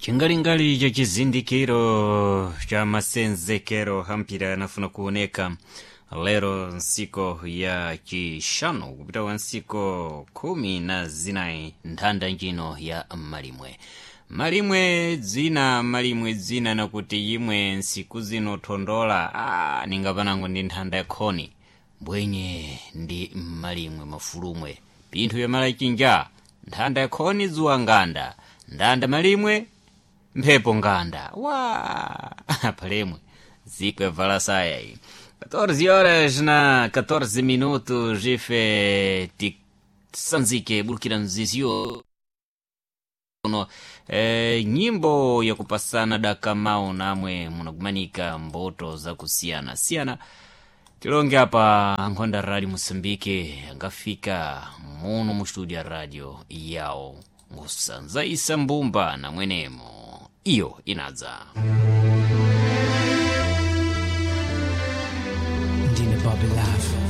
Chingalingali cha chizindikiro cha masenzekero hampira anafuna kuoneka lero nsiku ya chishanu kupita kwa nsiku 14 nthanda njino ya malimwe malimwe dzina malimwe dzina nakuti yimwe nsiku zino thondola ningapanango ndi nthanda yakhoni mbwenye ndi malimwe mafulumwe pinthu vyamalachinja nthanda yakhoni dzuwa nganda ndanda malimwe mphepo nganda wa palemwe ziko yavala saya iyi 14 horas na 14 minutos ife tisanzike bulukira mziziyo uno nyimbo yakupasana dakamau namwe munakumanika mboto zakusiyana siyana. Tilonge apa nkhonda radio Moçambique angafika muno mu studio ya radio yawo ngusanza isa mbumba na mwenemo iyo inadza. Ndine Bobby Love.